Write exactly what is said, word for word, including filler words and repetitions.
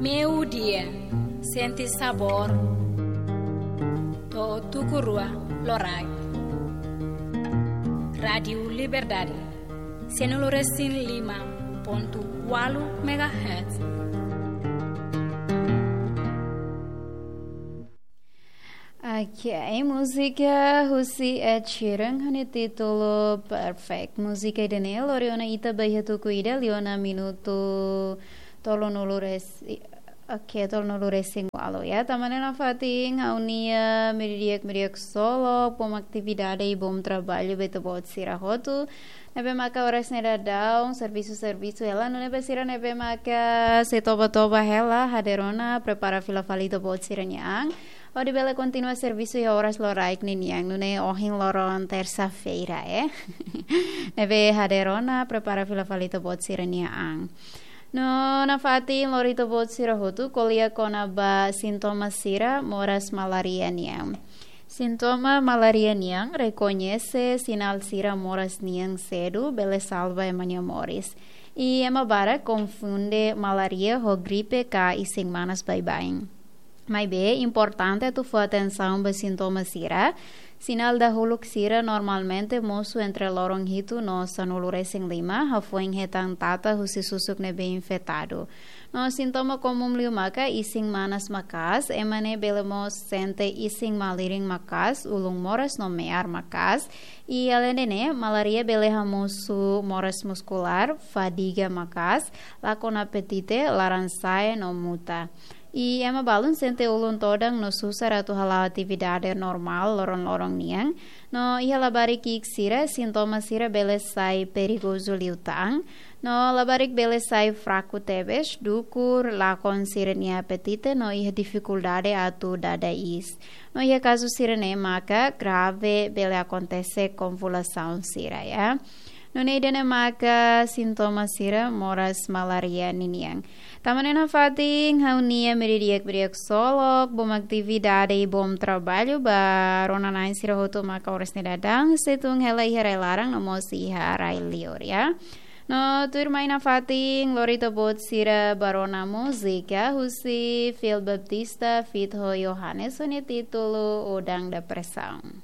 Meiudia, sente sabór. To'o tuku rua loraik. Rádiu Liberdade, sanulu-resin-lima pontu ualu megahertz. Oke, múzika husi Ed Sheeran ho nia títulu Perfect. Múzika ida-ne'e lori ona ita ba iha tuku ida liu ona minutu tolunulu res-, i-, oke, tolunulu-resin-ualu ya. Tanba ne'e nafatin ha'u-nia meiudia di'ak, meiudia di'ak ksolok, bom atividade i bom traballu ba ita-boot sira hotu. Ne'ebé maka oras ne'e daudaun servisu, servisu hela, nune'e ba sira ne'ebé maka sei toba, toba hela, hadeer ona, prepara fila fali ita-boot sira-nia an. Hodi bele kontinua servisu iha oras loraik ninian, nune'e ohin loron tersa-feira, eh. Ne'ebé hadeer ona, prepara fila fali ita-boot sira-nia an. No nafatin lori ita-boot sira hotu ko'alia kona-ba sintoma sira moras malária nian. Sintoma malária nian rekoñese sinál sira moras nian sedu bele salva ema nia moris. I ema barak konfunde malária ho gripe ka isin-manas baibain. Maibé, importante atu fó atensaun ba sintoma sira. Sinál dahuluk sira normalmente mosu entre loron hitu no sanulu-resin-lima, hafoin hetan tata husi susuk ne'ebé infetadu. No sintoma komún liu maka isin-manas maka'as, ema ne'e bele mós sente isin-malirin maka'as, ulun moras no me'ar maka'as. I aleinde ne'e, malária bele hamosu moras muskulár, fadiga maka'as, lakon apetite, laran-sa'e no muta. I ema balun sente ulun todan no susar atu hala'o atividade normál loron-loron nian. No iha labarik ki'ik sira, sintoma sira bele sai perigozu liután. No labarik bele sai fraku tebes, dukur, lakon sira-nia apetite no iha difikuldade atu dada iis. No iha kazu sira-ne'e maka grave bele akontese konvulsaun sira ya. Nune'e ida-ne'e maka sintoma sira moras malária ninian. Tanba ne'e nafatin ha'u-nia meiudia di'ak, meiudia di'ak ksolok, bom atividade i bom traballu ba rona-na'in sira hotu maka oras ne'e daudaun sei tun hela iha rai-laran no mós iha rai-liur ya. No tuirmai nafatin lori ita-boot sira ba rona múzika husi Phil Baptista feat ho Johannes ho nia títulu Udang Depresaun.